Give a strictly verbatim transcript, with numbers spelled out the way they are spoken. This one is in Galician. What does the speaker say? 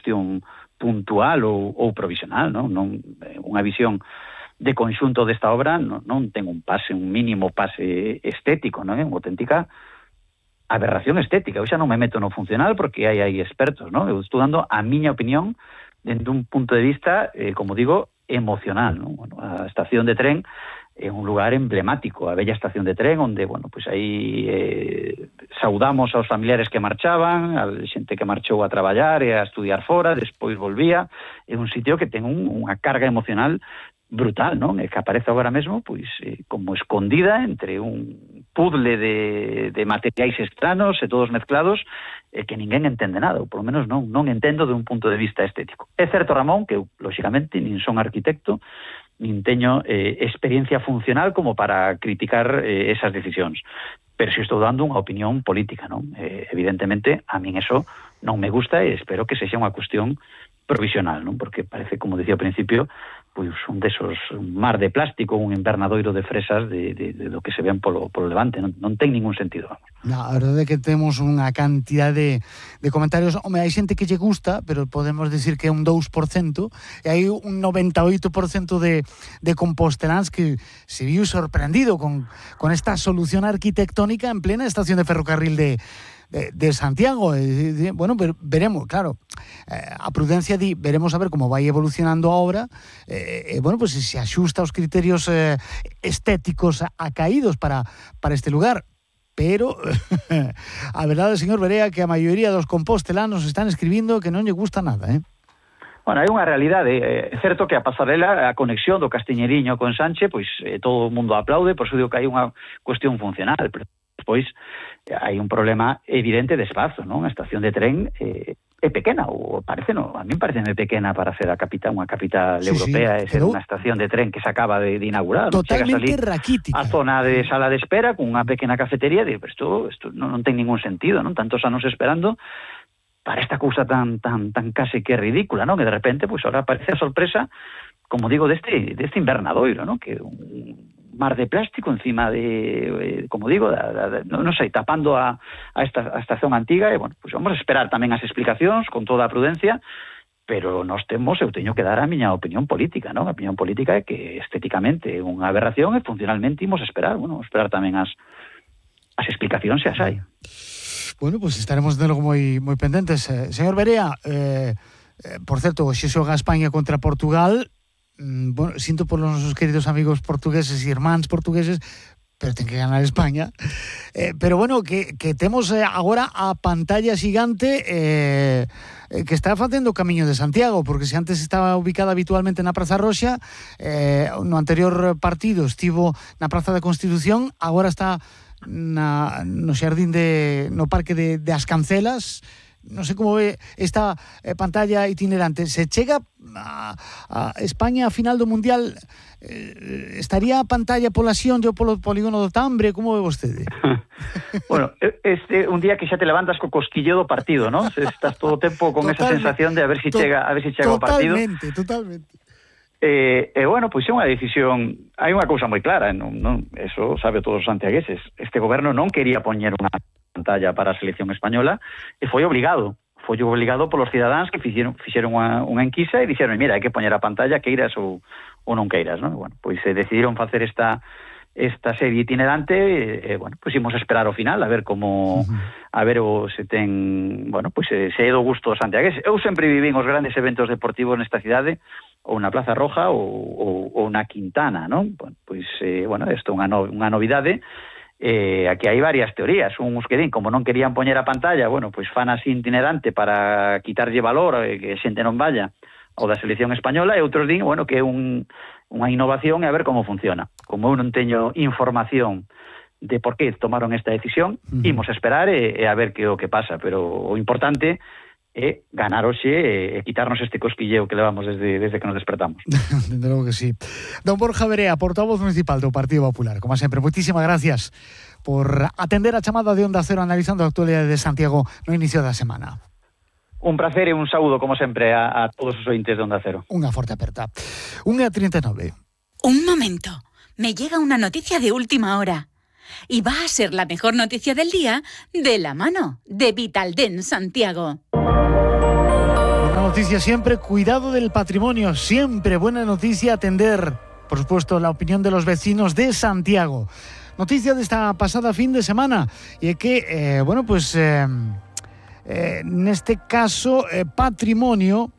cuestión puntual ou, ou provisional, non? Non unha visión de conxunto desta obra non, non ten un pase, un mínimo pase estético, non é unha auténtica aberración estética. Eu xa non me meto no funcional porque hai hai expertos, non? Eu estou dando a miña opinión dende un punto de vista, eh, como digo, emocional, non? Bueno, a estación de tren é un lugar emblemático, a bella estación de tren onde, bueno, pois aí eh, saudamos aos familiares que marchaban, a xente que marchou a traballar e a estudiar fora, despois volvía. É un sitio que ten un, unha carga emocional brutal, non? E que aparece agora mesmo pois eh, como escondida entre un puzzle de, de materiais estranos e todos mezclados e que ninguén entende nada, ou polo menos non, non entendo de un punto de vista estético. É certo, Ramón, que eu, lóxicamente, nin son arquitecto, nin teño eh, experiencia funcional como para criticar eh, esas decisións, pero si estou dando unha opinión política, non? Eh, evidentemente, a min eso non me gusta e espero que sexa unha cuestión provisional, non? Porque parece, como decía ao principio, pois un desos, un mar de plástico, un invernadoiro de fresas de, de, de do que se ven polo, polo levante, non, non ten ningún sentido, vamos. No, a verdade é que temos unha cantidad de, de comentarios. Home, hai xente que lle gusta, pero podemos decir que é un dous por cento, e hai un noventa e oito por cento de, de composteláns que se viu sorprendido con, con esta solución arquitectónica en plena estación de ferrocarril de De, de Santiago. Eh, de, bueno, ver, veremos, claro, eh, a prudencia di, veremos a ver como vai evolucionando a obra, eh, eh, bueno, pues si se axusta aos criterios eh, estéticos acaídos para, para este lugar, pero a verdade, señor Berea, que a maioría dos compostelanos están escribindo que non lle gusta nada, eh? Bueno, hai unha realidade, é certo que a pasarela, a conexión do Castiñeriño con Sanche, pois eh, todo o mundo aplaude, por iso digo que hai unha cuestión funcional, pero despois hai un problema evidente de espazo, non? A estación de tren eh, é pequena, ou parece, non? A min parece pequena para ser a capital, unha capital sí, europea, sí, e ser unha estación de tren que se acaba de, de inaugurar. Totalmente raquítica. A zona de sala de espera con unha pequena cafetería, e pero isto, isto non, non ten ningún sentido, non? Tantos anos esperando para esta cousa tan tan tan case que ridícula, non? Que de repente, pois, pues, ahora aparece a sorpresa, como digo, deste deste invernadoiro, non? Que un mar de plástico encima de, eh, como digo, da, da, da, non sei, tapando a, a, esta, a estación antiga, e, bueno, pues vamos a esperar tamén as explicacións con toda a prudencia, pero nós temos, eu teño que dar a miña opinión política, non? A opinión política é que estéticamente é unha aberración e funcionalmente imos esperar, bueno, esperar tamén as, as explicacións se as hai. Bueno, pues estaremos de logo moi, moi pendentes. Eh, señor Berea, eh, eh, por certo, xe xoga España contra Portugal. Bueno, sinto por los nosos queridos amigos portugueses e irmáns portugueses, pero ten que ganar España. Eh, pero bueno, que, que temos eh, agora a pantalla xigante eh, eh, que está facendo o camiño de Santiago, porque se antes estaba ubicada habitualmente na Praza Roxa, eh, no anterior partido estivo na Praza da Constitución, agora está na, no xardín de, no Parque de, de As Cancelas. Non sei como ve esta eh, pantalla itinerante. Se chega a, a España a final do Mundial, eh, estaría a pantalla pola Xión ou polo polígono do Tambre? Como ve vostede? Bueno, este un día que xa te levantas co cosquilleo do partido, ¿no? Estás todo o tempo con totalmente, esa sensación de a ver si to, chega, a ver si chega o partido. Totalmente, totalmente. Eh, eh, bueno, pois é unha decisión, hai unha cousa moi clara, non, non, eso sabe todos os santiagueses. Este goberno non quería poñer unha pantalla para a selección española e foi obligado, foi obligado polos cidadáns que fixeron, fixeron unha, unha enquisa e dixeron, mira, hai que poñer a pantalla queiras ou, ou non queiras, non? Bueno, pois se decidiron facer esta esta serie itinerante, e, eh, bueno, pois imos esperar ao final a ver como uh-huh. a ver o se ten, bueno, pois se, se é do gusto santiagués. Eu sempre vivín os grandes eventos deportivos nesta cidade, ou na Plaza Roja ou, ou, ou na Quintana, non? Bueno, pois, eh, bueno, isto é unha, no, unha novidade. Eh, aquí hai varias teorías. Uns que din, como non querían poñer a pantalla, bueno, pois fan así itinerante para quitarlle valor, eh, que xente non vaya ao da selección española, e outros din, bueno, que é un, unha innovación e a ver como funciona. Como eu non teño información de por que tomaron esta decisión, uh-huh. imos esperar e, e a ver que o que pasa, pero o importante é ganar hoxe e quitarnos este cosquilleo que levamos desde, desde que nos despertamos. Desde logo que sí. Don Borja Berea, portavoz municipal do Partido Popular, como sempre, moitísimas gracias por atender a chamada de Onda Cero analizando a actualidade de Santiago no inicio da semana. Un placer e un saúdo, como sempre, a, a todos os ointes de Onda Cero. Unha forte aperta. unha e trinta e nove. Un momento. Me llega una noticia de última hora. Y va a ser la mejor noticia del día de la mano de Vitaldent Santiago. Una noticia siempre, cuidado del patrimonio, siempre buena noticia atender, por supuesto, la opinión de los vecinos de Santiago. Noticia de esta pasada fin de semana, y es que, eh, bueno, pues, eh, eh, neste caso, eh, patrimonio,